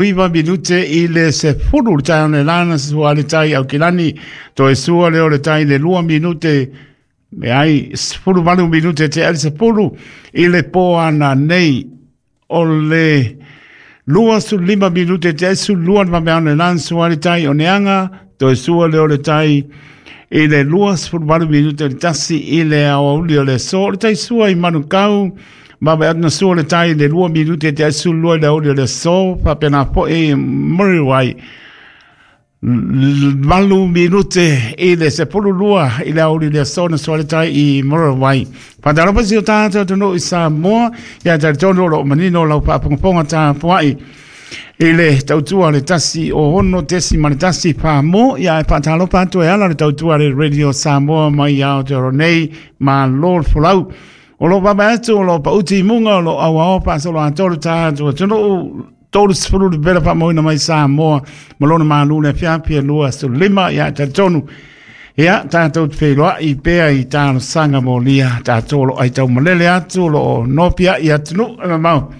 9 minute i le 10 le taeao nei lana sua le tai Aukilani, toe sua lea o le tai le 2 minute, leai, 18 minute te ali 10 i le po ana nei. O le 25 minute te ali 12 le vaveao nei lana sua le tai o Neaga, toe sua lea o le tai i le 28 minute le 1 i le aoauli o le aso. O le tai sua i Manukau, vave atu na sua le tai i le 2 minute te 12 i le aoauli o le aso, faapena foi Muriwai, 8 minute i le 12 i le aoauli o le aso na sua le tai i Muriwai. Faatalofa si o tātou atunuu i Samoa, ia talitonu o loo manino lau faafogafoga tapuai i le tautua le 106.1 Samoa. Ia e faatalofa atu e ala le tautua le Radio Samoa mai Aotearoa nei, malo le folau. O lo vava atu, o lo pauti i muga, o lo auao faasolo atoa le tātou atunuu, 30 le pela faamauina mai Samoa ma lona malu le afiafi e 25. Ia e talitonu, ia tātou te feiloai pea i talosaga molia, tātou o lo ai taumalele atu, o lo o nopiai atunuu e mamao.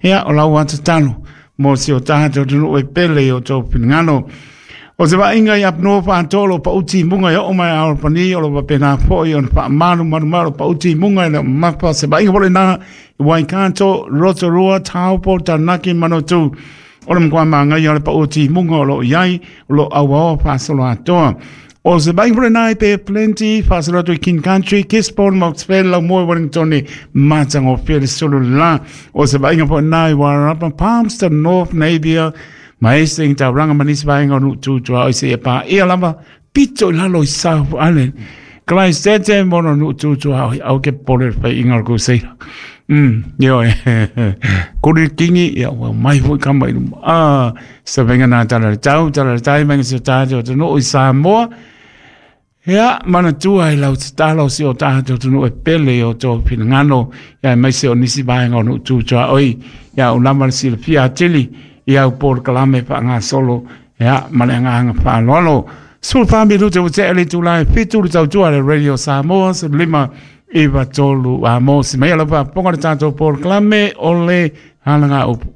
Ia o lau atatalo mo si o tātou atunuu e pele i o tou finagalo. O se vaaiga i Apanua faatoa o lo pauti i muga e oo mai a Alapani, o lo faapena foi ona faamalumalu mai o lo pauti i muga e le o mamafa. Se vaaiga foi lena i Waikato, Rotorua, Taupo, Taranaki, Manawatu. O le matua māngaia o le pauti i muga o lo o i ai, o lo o auaoa faasolo atoa. O se vaaiga foi lena i Bay of Plenty, faasolo atu i King Country, Gisborne, Moxville, Laumoe, Wellington, matagofie le sulu la. O se vaaiga foi lena i Wairarapa, Palmerston North, Napier, ma Hastings, Tauranga ma nisi vaega o nuu tu tuaoi seia paia lava pito i lalo i South Island. Christchurch mo no nuu tu tuaoi au ke pole le faiga o le kuseira. Ioe. Kuri kingi, ia ua mai foi kama i luma. Ah, sa venga nā tala le tau, tala le tai, venga se tātou atunuu i Samoa. Ia, manatua i lau tatalo si o tātou atunuu e pele i o tō finagalo, ia aemaise o nisi vaega o nuu tu tuaoi, ia o lava le silafia atili i au polokalame faagasolo, ia, ma le agaga faaaloalo. 14 minute ua tea le itula e 7 le tautua le Radio Samoa, 15 9 3 a mo si mai ala faafofoga le tatou polokalame o le halaga upu.